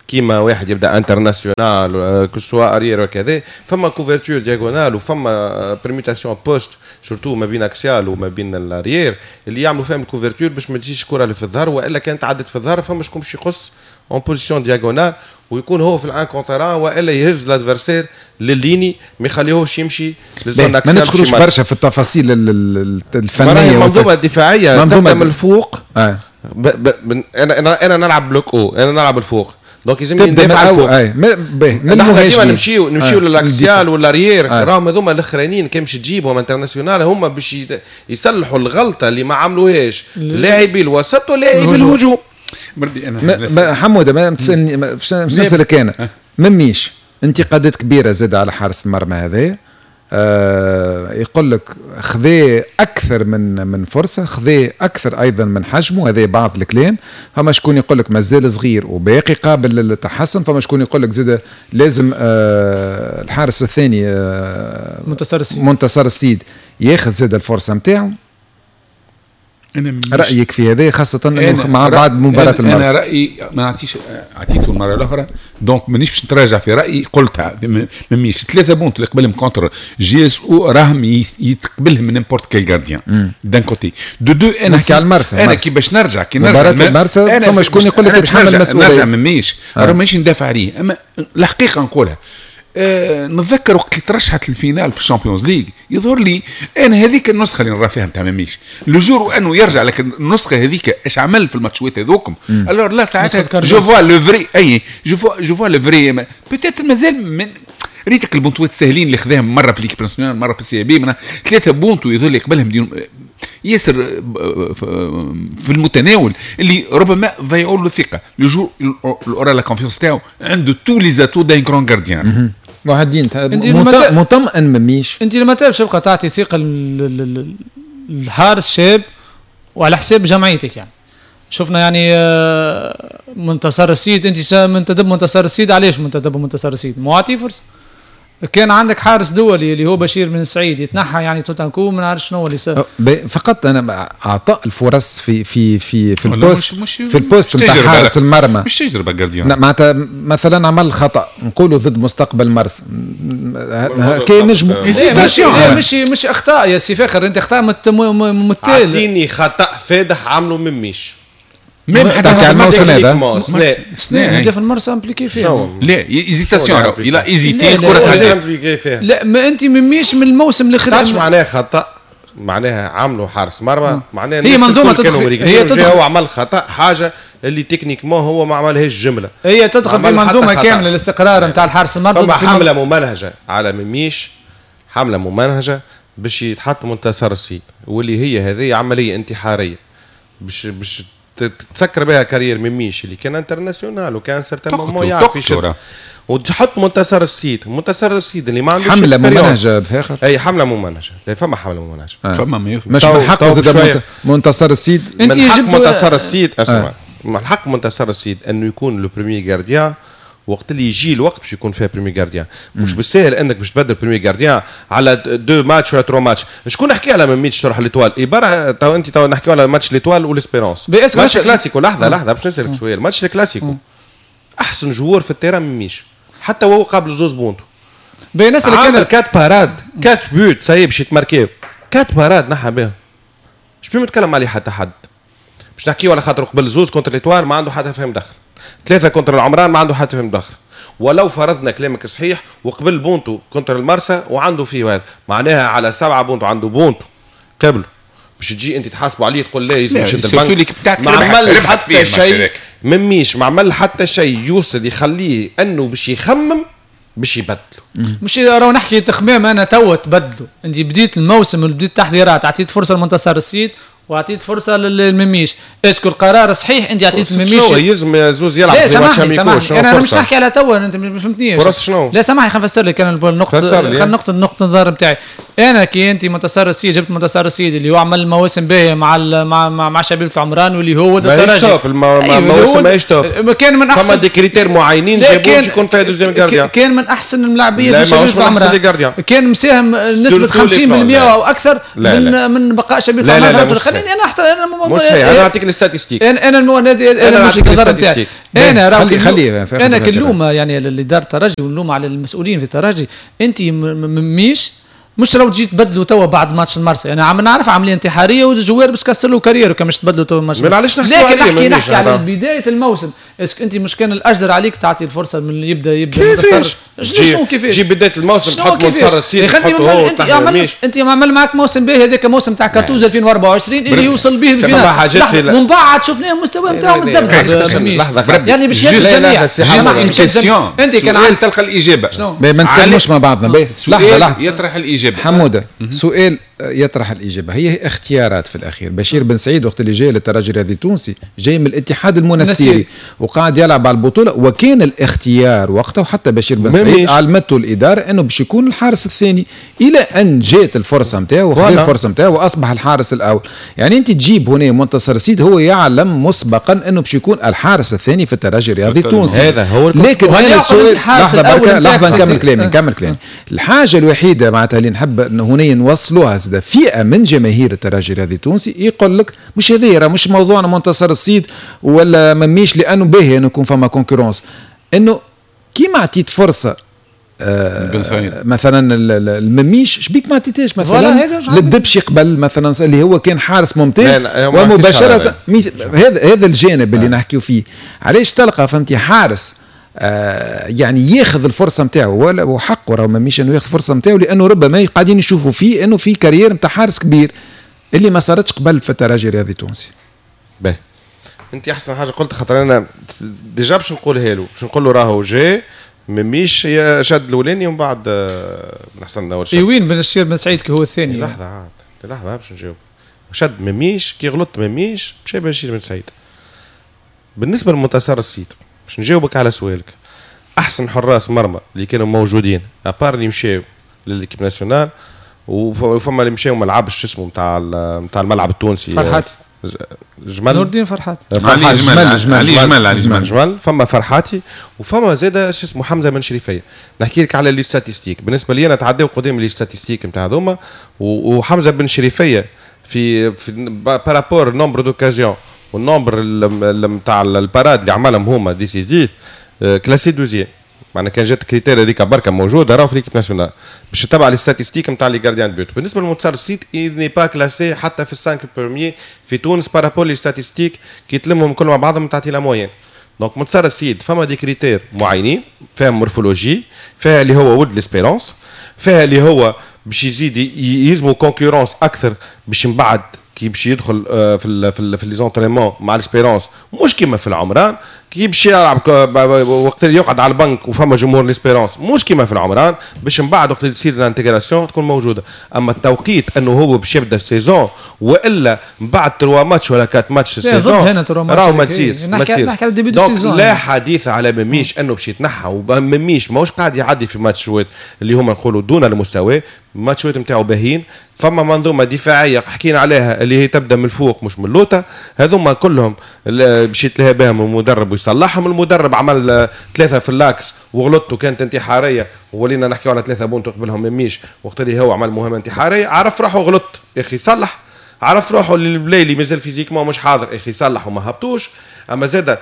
كيما واحد يبدا international que ce soit arrière وكذا، فما couverture diagonale وفما permutation poste surtout ما بين axial وما بين ال arrière اللي يعملوا فيهم ال couverture باش ما تجيش الكره اللي في الظهر، والا كانت عدت في الظهر فما شكون باش يقص en position diagonale ويكون هو في ال un contre un، والا يهز l'adversaire لل ligne ما يخليهوش يمشي لل zone axiale. ما ندخلوش برشا في التفاصيل الفنية. المنظومة الدفاعية تبدا من الفوق. آه. ب ب انا انا انا نلعب bloc haut، انا نلعب الفوق، donc لازم ندافع على الفوق. اي من ديما نمشيو نمشيو لل axial وال arrière، راهم هذوما الاخرانيين كان باش تجيبهم international هما باش يصلحوا الغلطة اللي ما عملوهاش لاعبي الوسط ولاعبي الهجوم. انا حموده ما تسالني باش نسالك انا، مميش انتقادات كبيرة زاد على حارس المرمى هذا، آه يقول لك خذا اكثر من من فرصة، خذا اكثر ايضا من حجمه، هذا بعض الكلام. فما شكون يقول لك مازال صغير وباقي قابل للتحسن، فما شكون يقول لك زاد لازم آه الحارس الثاني آه منتصر السيد منتصر السيد ياخذ زاد الفرصة نتاعو. رايك في هذا خاصة انه مع بعد مباراة المرسى؟ انا رايي ما نعطيش، اعطيته المرة الاخرى donc مانيش باش نتراجع في رايي، قلتها مميش ثلاثة buts اللي قبلهم contre JSO راهم يتقبلهم من n'importe quel gardien d'un côté de deux. انا نحكي على المرسى، انا كي باش نرجع كي نرجع مباراة المرسى فما شكون يقول لك تحمل المسؤولية، نرجع مميش آه. راه مانيش ندافع عليه، اما الحقيقة نقولها. أه نتذكر وقت اللي ترشحت ال finale في ال Champions League، يظهر لي انا هذيك النسخة اللي نرى فيها نتاع مميش le jour وانه يرجع، لكن النسخة هذيك اش عمل في الماتشات هذوكم alors là ساعتها je vois le vrai، اي je vois je vois le vrai peut-être مازال من ريتك البونتوات الساهلين اللي خذاهم مرة في l'équipe nationale مرة في ال CAB، ثلاثة بونتو يظهر لي قبلهم ياسر في المتناول اللي ربما ضيعوا له الثقة. le jour aura la confiance تاعو عنده tous les atouts d'un grand gardien. واحد مطمئن مميش. انت لما باش تبقى تعطي ثقة للحارس شاب وعلى حساب جمعيتك يعني. شفنا يعني منتصر السيد، انت منتدب منتصر السيد، علاش منتدب منتصر السيد؟ معطي فرصة. كان عندك حارس دولي اللي هو بشير بن سعيد يتنحى يعني tout d'un coup، ما نعرف شنو اللي صار. فقط انا اعطاء الفرص في في في في ال poste مش في ال poste نتاع حارس المرمى مش تجربه gardien. معناتها مثلا عمل خطا نقولوا ضد مستقبل مرسى كي نجموا مش مش مش اخطاء يا سي فاخر، انت اخطاء متال. اعطيني خطا فادح عملوا مميش même حتى على الموسم هذا سنة هدف المرسى impliqué فيه. لا hésitation، il a hésité الكره. لا ما انت مميش من الموسم اللي خرج معناها خطا، معناها عملوا حارس مرمى، معناها هي منظومة تدخل، هي تدخل هو عمل خطا حاجة اللي techniquement هو ما عملهاش جملة، هي تدخل في منظومة كاملة الاستقرار نتاع الحارس المرمى. فما حمله ممنهجه على مميش، حمله ممنهجه باش يتحط منتصر السيد، واللي هي هذه عملية انتحارية باش باش تسكر بها carrière مميش اللي كان international وكان certain moment يعرف يشد، وتحط منتصر السيد، منتصر السيد اللي ما عندوش حمله ممنهجه بفاخر. اي حمله ممنهجه، لا فما حمله ممنهجه آه. فما ما مش من حق زاد منتصر السيد، انت من حق منتصر السيد اسمع آه. من حق منتصر السيد انه يكون le premier gardien وقت اللي يجي الوقت باش يكون فيها premier gardien. مش بالساهل انك باش تبدل premier gardien على deux matchs ولا trois matchs. شكون نحكي على مميتش تروح l'Étoile إبارة تو انت تو نحكيو على match l'Étoile و l'Espérance match كلاسيكو. لحظة لحظة باش نسالك سؤال. ماتش الكلاسيكو احسن joueur في ال terrain مميش حتى وهو قابل زوز بونتو بينس عامل quatre parades quatre buts ça y est باش يتماركيو quatre parades نحى بهم. مش بيه نتكلم عليه حتى حد باش نحكيو على خاطر قبل زوز contre l'Étoile ما عنده حتى فهم دخل، ثلاثة contre العمران ما عنده حتى فهم دخل، ولو فرضنا كلامك صحيح وقبل بونتو contre المرسى وعنده فيه هذا معناها على سبعة بونتو عنده بونتو قبله باش تجي انت تحاسبه عليه تقول لا يلزم يشد البنك. ما عمل حتى شيء مميش، ما عمل حتى شيء يوصل يخليه انه باش يخمم باش يبدلوا. مش راهو نحكي تخمام انا توا تبدلوا، انت بديت الموسم وبديت التحضيرات عطيت فرصة لمنتصر السيد واعطيت فرصة للمميش. est-ce que القرار صحيح انت عطيت المميش؟ شنو يلزم زوز يلعب في ماتش amicaux؟ انا مش نحكي على توا، انت ما فهمتنيش. فرص شنو؟ لا سامحني خلينا نفسر لك انا النقطة، خلينا نقطة نقطة النظر نتاعي. انا كي انت منتصر السيد جبت منتصر السيد اللي هو عمل مواسم باهيه مع مع مع, مع شبيبة العمران واللي هو الترجي top المواسم ماهيش top، كان من احسن فما des critères معينين جابوه يكون فيها deuxième gardien، كان من احسن الملاعبيه في شبيبة العمران، كان مساهم نسبه خمسين بالمئة او اكثر من من بقاء شبيبة العمران. خليني انا حتى انا مش صحيح، انا نعطيك ال statistiques. انا انا انا انا مش النظر نتاعي. انا راه خلي انا كنلوم يعني اللي دار الترجي ونلوم على المسؤولين في الترجي. انت مميش مش لو تجي تبدلوا توا بعد ماتش المرسى، انا عم نعرف عملية انتحارية و joueur باش كسر له carrière كان مش تبدلوا توا ماتش. علاش نحكي؟ لكن نحكي نحكي على بداية الموسم. est-ce que انت مش كان الاجدر عليك تعطي الفرصة من يبدا يبدا كيفاش؟ شنو كيفاش؟ جي بداية الموسم تحط منتصر السيد تحطه هو انت عمل انت عمل معك موسم باهي، هذاك موسم تاع كاتوز ألفين وأربعة وعشرين اللي يوصل به ال finale، ومن بعد شفناه المستوى نتاعو متذبذب يعني باش يهز الجميع. انت كان تلقى الاجابة، ما نتكلموش مع بعضنا. لحظة لحظة، يطرح الاجابة حموده. سؤال يطرح الإجابة، هي اختيارات في الأخير. بشير بن سعيد وقت اللي جاي للترجي الرياضي التونسي جاي من الاتحاد المنستيري وقاعد يلعب على البطولة، وكان الاختيار وقتها وحتى بشير بن سعيد علمته الإدارة أنه باش يكون الحارس الثاني، إلى أن جات الفرصة نتاعو وخذ الفرصة نتاعو وأصبح الحارس الأول. يعني أنت تجيب هنا منتصر السيد هو يعلم مسبقا أنه باش يكون الحارس الثاني في الترجي الرياضي التونسي، هذا هو. لكن هذا السؤال، لحظة بركة، لحظة نكمل كلامي نكمل كلامي. الحاجة الوحيدة معناتها اللي نحب هنا نوصلوها، فئة من جماهير الترجي الرياضي التونسي يقول لك مش هذا راه مش موضوعنا منتصر السيد ولا مميش، لانه باهي انه يكون فما concurrence، انه كيما عطيت فرصة آه مثلا المميش شبيك ما عطيتهاش مثلا للدبشي قبل مثلا اللي هو كان حارس ممتاز ومباشرة. هذا هذا الجانب اللي نحكيو فيه. علاش تلقى فهمتي حارس آه يعني ياخذ الفرصة نتاعو ولا وحقه راهو مميش انه ياخذ الفرصة نتاعو، لانه ربما قاعدين يشوفوا فيه انه في carrière نتاع حارس كبير اللي ما صارتش قبل في الترجي الرياضي التونسي. باهي انت احسن حاجة قلت، خاطر انا déjà باش نقولها له، باش نقول له راهو جاي مميش شاد الاولاني ومن بعد بن حسن اول شيء. وين بشير بن سعيد كي هو الثاني؟ لحظة عاد لحظة باش نجاوب. شد مميش كي غلط مميش مشى بشير بن سعيد. بالنسبة لمنتصر السيد باش نجاوبك على سؤالك، احسن حراس مرمى اللي كانوا موجودين à part اللي مشاو لل équipe nationale وفما اللي مشاو ما لعبش اسمه نتاع نتاع الملعب التونسي فرحاتي جمل نور الدين فرحاتي علي جمل جمل علي جمل علي جمل جمل فما فرحاتي وفما زاد شو اسمه حمزة بن شريفيه. نحكي لك على les statistiques، بالنسبة لي انا تعداو قدام les statistiques نتاع هذوما، وحمزة بن شريفيه في في par rapport nombre d'occasions وال nombre نتاع ال parades اللي عملهم هما décisives classé deuxième، معناها كان جات critère هذيك بركة موجودة راهو في l'équipe nationale باش تتبع les statistiques نتاع les gardiens de but. بالنسبة لمنتصر السيد n'est pas classé حتى في ال cinq premiers في تونس par rapport les statistiques كي تلمهم كل مع بعضهم تعطي la moyenne. donc منتصر السيد فما des critères معينين، فيها morphologie، فيها اللي هو ولد l'Espérance، فيها اللي هو باش يزيد يلزمو concurrence اكثر باش من بعد كي باش يدخل في ال في ال في les entraînements مع l'Espérance مش كيما في العمران، كي باش يلعب وقت اللي يقعد على البنك وفما جمهور l'Espérance مش كيما في العمران، باش من بعد وقت اللي تصير l'intégration تكون موجودة. اما التوقيت انه هو باش يبدا ال saison والا من بعد trois matchs ولا quatre matchs ال saison راهو ما تصيرش ما تصيرش. donc لا حديث على مميش انه باش يتنحى، ومميش ماهوش قاعد يعدي في ماتشات اللي هما نقولوا دون المستوى، ماتشات نتاعو باهين. فما منظومة دفاعية حكينا عليها اللي هي تبدا من الفوق مش من اللوطه، هذوما كلهم باش يتلهى بهم المدرب ويصلحهم. المدرب عمل ثلاثة في l'axe وغلط وكانت انتحارية وولينا نحكيو على ثلاثة بونت قبلهم مميش وقت اللي هو عمل مهمة انتحارية، عرف روحه غلط يا اخي صلح، عرف روحه اللي البلايلي مازال physiquement مش حاضر يا اخي صلح وما هبطوش. اما زاد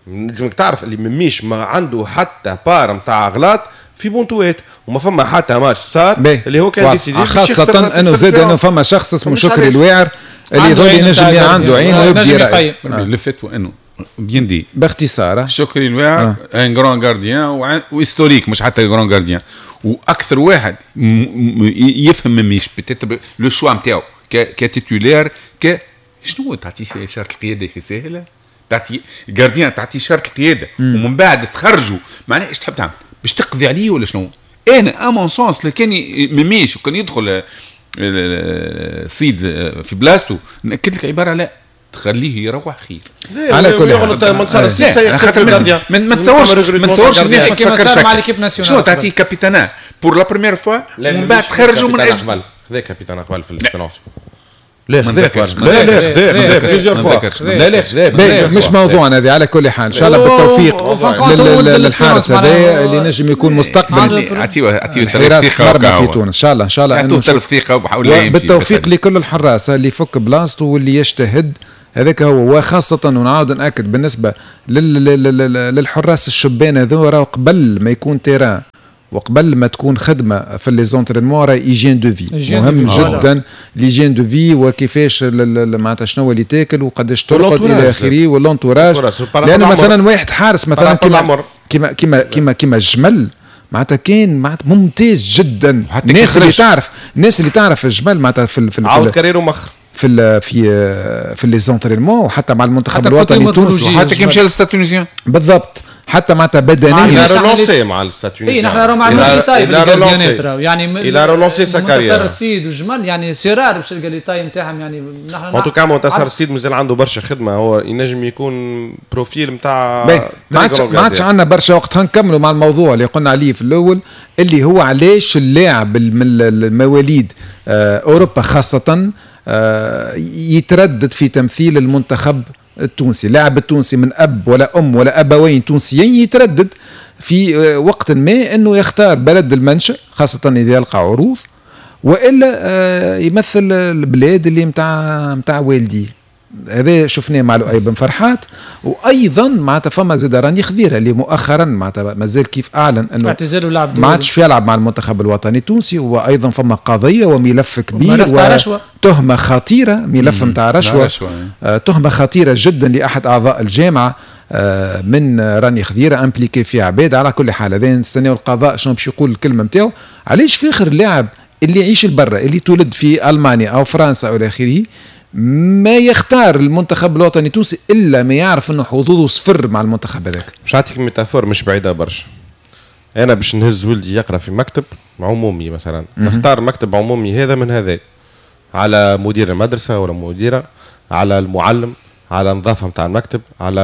لازمك تعرف اللي مميش ما عنده حتى part نتاع غلط في بونتوات وما فما حتى ماتش صار اللي هو كان décisif، خاصة انه زاد انه فما شخص اسمه شكري الواعر اللي يظل ينجم عنده عين ويبدي رأي. لفت وانه bien dit باختصار شكري الواعر un grand gardien و historique مش حتى grand gardien، واكثر واحد يفهم مميش peut-être le choix نتاعو ك titulaire ك شنو تعطيه شرط القيادة في ساهله، تعطي gardien تعطيه شرط القيادة ومن بعد تخرجوا، معناها ايش تحب تعمل باش تقضي عليه ولا شنو؟ انا à mon sens لو كان مميش وكان يدخل الصيد في بلاصتو، ناكد لك عبارة لا تخليه يروح خير. على كل حال منتصر الصيد سيخسر ما تصورش ما تصورش كيما صار مع l'équipe nationale. شنو تعطيه capitanat pour la première fois ومن بعد تخرجوا من اجل هذا capitanat قبل في l'Espérance. لا خذاك لا لا خذاك plusieurs fois لا لا خذاك مش موضوعنا هذه. على كل حال ان شاء الله بالتوفيق للحارس هذا اللي نجم يكون مستقبل اعطيه اعطيه حراس مرمى في تونس ان شاء الله. ان شاء الله انه ثقة بالتوفيق لكل الحراس اللي يفك بلاصته واللي يجتهد، هذاك هو. وخاصة ونعاود نأكد بالنسبة للحراس الشبان هذو، راهو قبل ما يكون terrain وقبل ما تكون خدمة في les entraînements راهي hygiène de vie مهم جدا. l'hygiène de vie وكيفاش معناتها شنو اللي تاكل وقداش ترقد الى اخره وال entourage. لانه مثلا واحد حارس مثلا كيما كيما كيما كيما كيما الجمل معناتها كان معناتها ممتاز جدا. الناس اللي تعرف الناس اللي تعرف الجمل معناتها في في عاود carrière و مخر في في في les entraînements وحتى مع المنتخب الوطني التونسي وحتى كي مشى لل Stade Tunisien بالضبط، حتى معناتها بدنيا il a relancé مع ال Stade Tunisien. اي نحن راه ما عندناش les tailles في ال gardienات راهو، يعني il a relancé sa carrière. منتصر السيد والجمل يعني c'est rare باش تلقى les tailles نتاعهم. يعني نحن en tout cas منتصر السيد مازال عنده برشا خدمة، هو ينجم يكون profil نتاع ما عادش ما عادش عندنا برشا وقت. هنكملوا مع الموضوع اللي قلنا عليه في الاول اللي هو علاش اللاعب من المواليد اوروبا خاصة يتردد في تمثيل المنتخب التونسي. اللاعب التونسي من أب ولا أم ولا أبوين تونسيين يتردد في وقت ما أنه يختار بلد المنشأ خاصة إذا يلقى عروض، وإلا يمثل البلاد اللي متاع متاع والديه. هذا شفناه مع لؤي بن فرحات، وايضا معناتها فما زاد راني خضيره اللي مؤخرا معناتها مازال كيف اعلن انه اعتزال لعب ما عادش يلعب مع المنتخب الوطني التونسي. وايضا فما قضية وملف كبير وتهمه خطيرة، ملف نتاع رشوة، آه تهمه خطيرة جدا لاحد اعضاء الجامعة آه من راني خضيره impliqué في عباد. على كل حال هذا نستناو القضاء شنو باش يقول الكلمة نتاعو. علاش في اخر اللاعب اللي يعيش البرة اللي تولد في المانيا او فرنسا او الى اخره ما يختار المنتخب الوطني التونسي الا ما يعرف انه حظوظه صفر مع المنتخب هذاك؟ باش نعطيك métaphore مش بعيدة برشا. انا باش نهز ولدي يقرا في مكتب عمومي مثلا، نختار مكتب عمومي هذا من هذا، على مدير المدرسة ولا مديره، على المعلم، على النظافة نتاع المكتب، على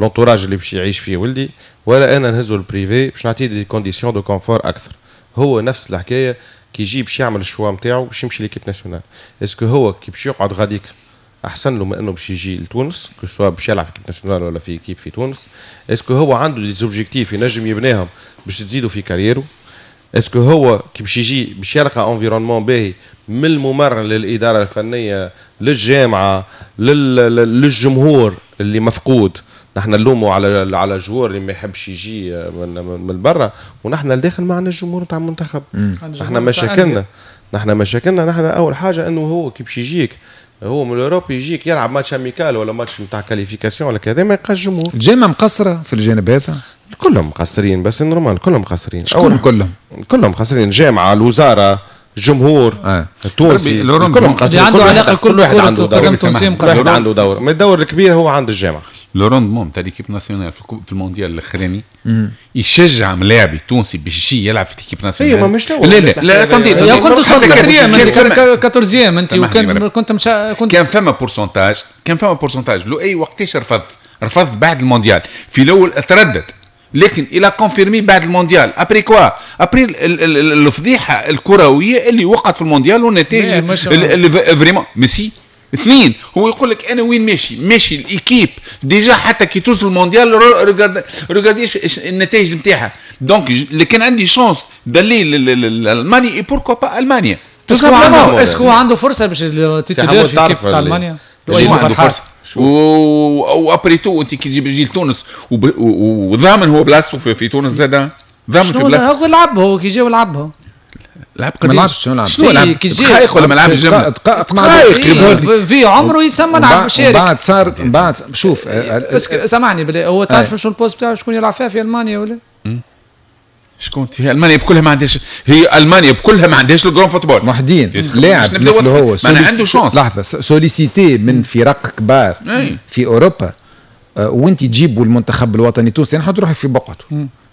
l'entourage اللي باش يعيش فيه ولدي، ولا انا نهزو ال privé باش نعطيه des conditions de confort اكثر. هو نفس الحكاية كي يجي باش يعمل ال choix نتاعو باش يمشي l'équipe nationale، est-ce que هو كي باش يقعد غاديك احسن له من انه باش يجي لتونس، que ce soit باش يلعب في équipe nationale ولا في équipe في تونس؟ est-ce que هو عنده des objectifs ينجم يبنيهم باش تزيدوا في carrière و؟ est-ce que هو كي باش يجي باش يلقى environnement باهي من الممرن للادارة الفنية للجامعة للجمهور اللي مفقود؟ نحن نلوموا على على joueur اللي ما يحبش يجي من من برا، ونحن لداخل ما عندنا الجمهور نتاع المنتخب. نحن مشاكلنا نحن مشاكلنا نحن اول حاجة انه هو كي باش يجيك هو من l'Europe يجيك يلعب match amical ولا ماتش نتاع qualification ولا كذا، ما يلقاش جمهور. الجامعة مقصرة في الجانب هذا؟ كلهم مقصرين، بس normal كلهم مقصرين. شكون كلهم؟ كلهم مقصرين، الجامعة، الوزارة، الجمهور آه. التونسي، كلهم مقصرين. عنده علاقة كل واحد عنده دور، كل واحد عنده دور، ما الدور الكبير هو عند الجامعة. le rendement تاع l'équipe nationale في المونديال الاخراني يشجع ملاعبي تونسي باش يجي يلعب في l'équipe nationale. اي ما مش لا لا لا تنطيط يا كنت وصلت quatrième انت quatorzième انت، وكان كنت مش كنت كان فما pourcentage، كان فما pourcentage لو اي وقتاش رفض رفض بعد المونديال. في الاول تردد، لكن il a confirmé بعد المونديال. après quoi؟ après الفضيحة الكروية اللي وقعت في المونديال والنتائج اللي vraiment ميسي. اثنين هو يقول لك انا وين ماشي؟ ماشي l'équipe déjà حتى كي توصل المونديال regardez النتائج نتاعها. donc اللي كان عندي chance d'aller لالمانيا et pourquoi pas المانيا. est-ce que عنده فرصة باش titulaire في équipe تاع المانيا؟ عنده فرصة و après tout انت كي تجيب جيل تونس وضامن هو بلاصته في, في تونس زاد ضامن في بلاصته. هو لعب، هو كي جا ولعبها لعب قديش؟ ما لعبش. شنو لعب؟ شنو لعب؟ دقائق ولا ما لعبش جملة؟ دقائق في عمره يتسمى لعب شارك. بعد صارت بعد شوف بس سامحني بلي هو تعرف شنو ال poste بتاعه شكون يلعب فيها في المانيا ولا؟ شكون هي المانيا بكلها ما عندهاش، هي المانيا بكلها ما عندهاش ال grand football محدين لاعب مثل هو ما عنده chance. لحظة sollicité من فرق كبار في اوروبا وانت تجيبوا المنتخب الوطني التونسي، انا نحط روحي في بقعته.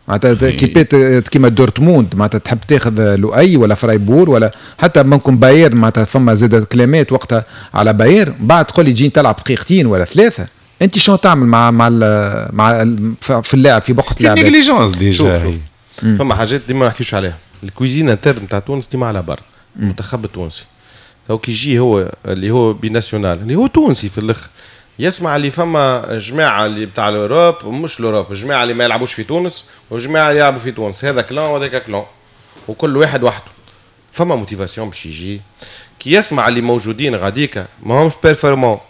معناتها équipe ات كيما دورتموند معناتها تحب تاخذ لؤي ولا فرايبور ولا حتى ممكن بايرن، معناتها فما زاد كلامات وقتها على بايرن، بعد تقول لي تجي تلعب دقيقتين ولا ثلاثة، انت شنو تعمل مع مع ال مع ال في اللاعب في بقعة اللاعب؟ négligence déjà. فما حاجات ديما ما نحكيوش عليها، ال cuisine interne نتاع تونس ديما على بر المنتخب التونسي تو كي يجي هو اللي هو binational اللي هو تونسي في الاخر يسمع اللي فما جماعة اللي بتاع l'Europe مش l'Europe، جماعة اللي ما يلعبوش في تونس وجماعه اللي يلعبوا في تونس، هذا clan وهذاك clan وكل واحد وحده، فما motivation باش يجي كي يسمع اللي موجودين غاديكا ما همش performants،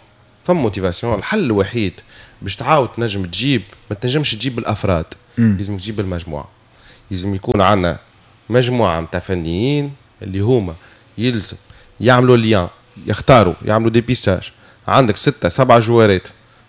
فما motivation. الحل الوحيد باش تعاود تنجم تجيب، ما تنجمش تجيب بالافراد، لازم تجيب بالمجموعة، لازم يكون عندنا مجموعة نتاع فنيين اللي هما يلزم يعملوا lien، يختاروا، يعملوا dépistage. عندك ستة سبعة joueur ات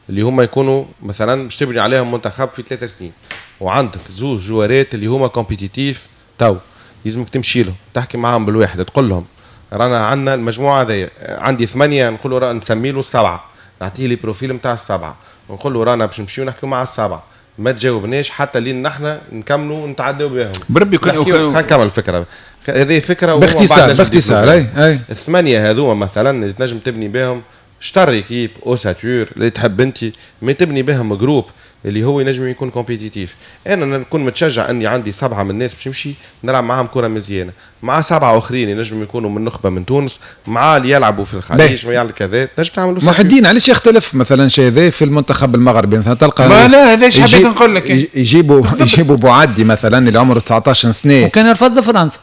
اللي هما يكونوا مثلا باش تبني عليهم منتخب في ثلاثة سنين، وعندك زوج joueur ات اللي هما compétitifs تو لازمك تمشي لهم تحكي معاهم بالواحد، تقول لهم رانا عندنا المجموعة هذيا، عندي ثمانية نقول له نسمي له السبعة، نعطيه les profils نتاع السبعة، ونقول له رانا باش نمشيو نحكيو مع السبعة، ما تجاوبناش حتى لين نحن نكملوا ونتعداو بهم. بربي كان نكمل الفكرة هذه فكرة باختصار باختصار. اي اي الثمانية هذوما مثلا اللي تنجم تبني بهم شطر équipe ossature اللي تحب انت، ما تبني بهم groupe اللي هو ينجم يكون compétitif. انا نكون متشجع اني عندي سبعة من الناس باش نمشي نلعب معاهم كره مزيانه، مع سبعة اخرين ينجم يكونوا من نخبة من تونس، مع اللي يلعبوا في الخليج، ما يعمل كذا، تنجم تعمل. محي الدين علاش يختلف مثلا شيء هذا في المنتخب المغربي؟ مثلا تلقى ما لا هذا ايش حبيت نقول لك، يجيبوا يجيبوا بوعدي مثلا اللي عمره تسعطاش سنة وكان رفض فرنسا.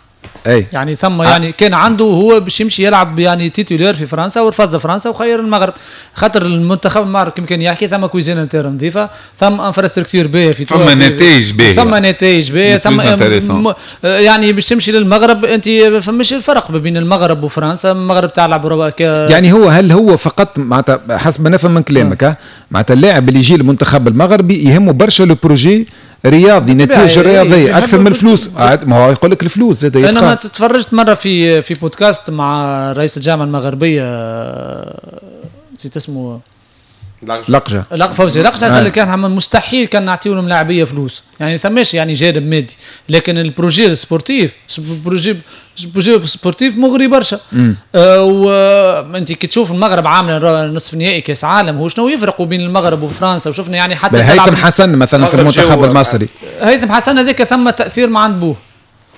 أي. يعني ثم يعني كان عنده هو باش يمشي يلعب يعني titulaire في فرنسا ورفض فرنسا وخير المغرب، خاطر المنتخب المغرب كما كان يحكي ثم cuisine interne نظيفة، ثم infrastructure باهيه في ثم نتائج باهيه، ثم نتائج باهيه، ثم يعني باش تمشي للمغرب انت فماش الفرق ما بين المغرب وفرنسا، المغرب تلعب ك... يعني هو هل هو فقط معناتها حسب ما نفهم من كلامك معناتها اللاعب اللي يجي للمنتخب المغربي يهمه برشا le projet رياضي، نتائج رياضية اكثر من الفلوس. ما هو يقول لك الفلوس زاد. انا ما تفرجت مرة في في بودكاست مع رئيس الجامعة المغربية، نسيت اسمه، لقجه لق فوزي لقجه، قال لك كان مستحيل كان نعطيو لهم لاعبيه فلوس، يعني سماش يعني جانب مادي، لكن ال projet sportif projet projet sportif مغري برشا. آه وانت كي تشوف المغرب عامله نصف نهائي كاس عالم، هو شنو يفرقوا بين المغرب وفرنسا؟ وشفنا يعني حتى هيثم حسن مثلا في المنتخب المصري، هيثم حسن هذاك ثم تاثير مع عند بوه،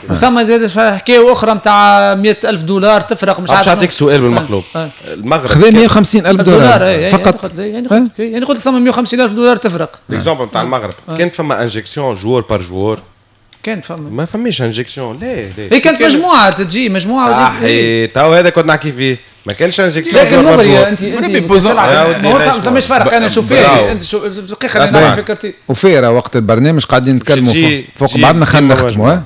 وثم زاد حكاية اخرى نتاع مئة ألف دولار تفرق مش عارف. نعطيك سؤال بالمقلوب، آه. المغرب خذا مئة وخمسين ألف دولار, دولار فقط، يعني قلت يعني قلت ثم مئة وخمسين ألف دولار تفرق. l'exemple نتاع المغرب كانت فما injection joueur par joueur، كانت فما ما فماش injection. لا لا هي كانت مجموعة تجي مجموعة. صحيح تو هذا كنت نحكي فيه، ما كانش injection. لكن مغرية انت انت ما فماش فرق. انا نشوف فيها انت شوف دقيقة انا فكرتي وفيرة وقت البرنامج قاعدين نتكلموا فوق بعضنا، خلينا نختموا.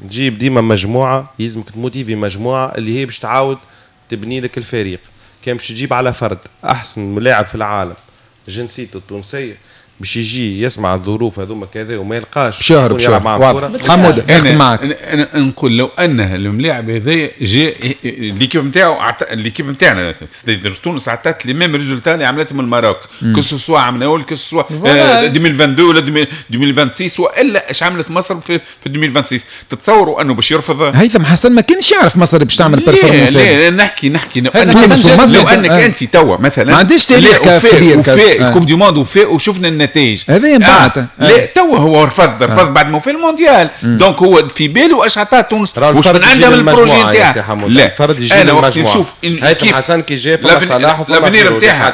تجيب ديما مجموعة، يلزمك ت motiver مجموعة اللي هي باش تعاود تبني لك الفريق. كان باش تجيب على فرد احسن لاعب في العالم جنسيته التونسية باش يجي يسمع الظروف هذوما كذا وما يلقاش باش يهرب يلعب معاه كورة. حمود اخدم معك. انا نقول لو ان الملاعب هذايا جاء l'équipe نتاعو، l'équipe نتاعنا تونس عطات les mêmes résultats اللي عملتهم ال Maroc، que ce soit عملناول que ce soit ألفين واثنين وعشرين ولا ألفين وستة وعشرين والا اش عملت مصر في ألفين وستة وعشرين. تتصوروا انه باش يرفض هيثم حسن؟ ما كانش يعرف مصر باش تعمل performance. لا نحكي نحكي لو انك انت توا مثلا ما عنديش تاريخ كبير coupe du monde وفاء وشفنا النتائج هذا بعد. آه. لا توا هو رفض رفض آه. بعد ما في المونديال. donc هو في باله اش عطاه تونس واش من عندها من ال projet نتاعها. لا فرد يجي انا وقت نشوف هيثم حسن كي جا فما صلاح وفما l'avenir نتاعها،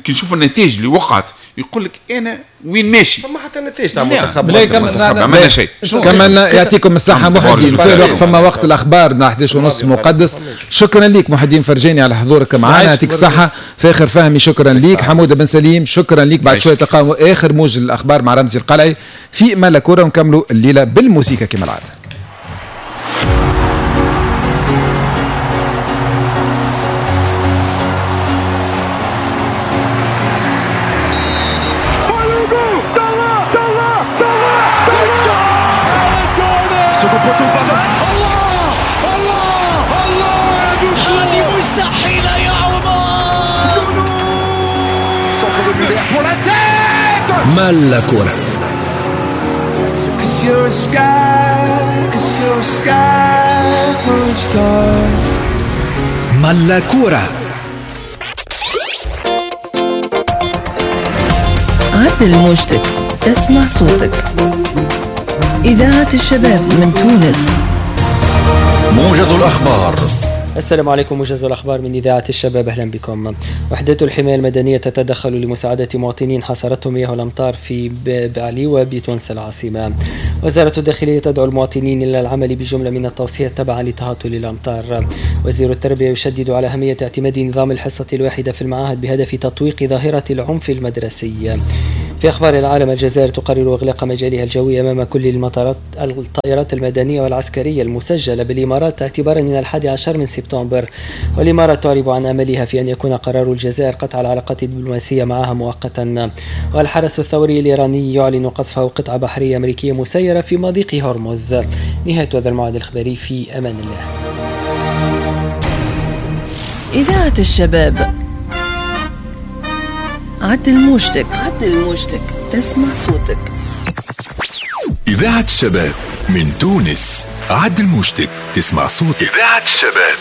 كي نشوف النتائج اللي وقعت يقول لك انا وين ماشي. فما حتى نتائج تاع المنتخب ما عملنا شيء. كملنا يعطيكم الصحة محي الدين. في الوقت فما وقت الاخبار من إحدى عشرة ونص مقدس. شكرا لك محي الدين فرجاني على حضورك معنا، يعطيك الصحة. فاخر فهمي شكرا لك. حموده بن سليم شكرا لك. بعد شوية تلقاو اخر موج الاخبار مع رمزي القلعي في مالا كورة، ونكملوا الليلة بالموسيقى كما العادة. مالا كورة. you're a sky, 'cause you're a sky full of stars. ملا كورة. عدل موجتك تسمع صوتك. إذاعة الشباب من تونس. موجز الأخبار. السلام عليكم، موجز الأخبار من إذاعة الشباب، أهلا بكم. وحدات الحماية المدنية تتدخل لمساعدة مواطنين حاصرتهم مياه الأمطار في بعليوة بتونس العاصمة. وزارة الداخلية تدعو المواطنين إلى العمل بجملة من التوصيات تبعا لتهاطل الأمطار. وزير التربية يشدد على أهمية اعتماد نظام الحصة الواحدة في المعاهد بهدف تطويق ظاهرة العنف المدرسي. في أخبار العالم، الجزائر تقرر إغلاق مجالها الجوي أمام كل المطارات الطائرات المدنية والعسكرية المسجلة بالإمارات اعتبارا من الحادي عشر من سبتمبر. والإمارات تعرب عن أملها في أن يكون قرار الجزائر قطع العلاقات الدبلوماسية معها مؤقتا. والحرس الثوري الإيراني يعلن قصفه قطعة بحرية أمريكية مسيرة في مضيق هرمز. نهاية هذا الموعد الإخباري، في أمان الله. إذاعة الشباب، عدل موجتك، عدل موجتك تسمع صوتك. إذاعة الشباب من تونس، عدل موجتك تسمع صوتك. إذاعة الشباب،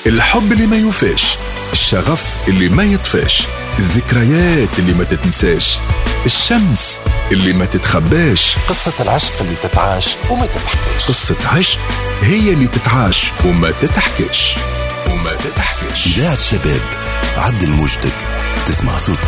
الحب اللي ما يوفاش، الشغف اللي ما يطفاش، الذكريات اللي ما تتنساش، الشمس اللي ما تتخباش، قصة العشق اللي تتعاش وما تتحكاش. قصة عشق هي اللي تتعاش وما تتحكاش وما تتحكاش. إذاعة الشباب، عدل موجتك تسمع صوتك.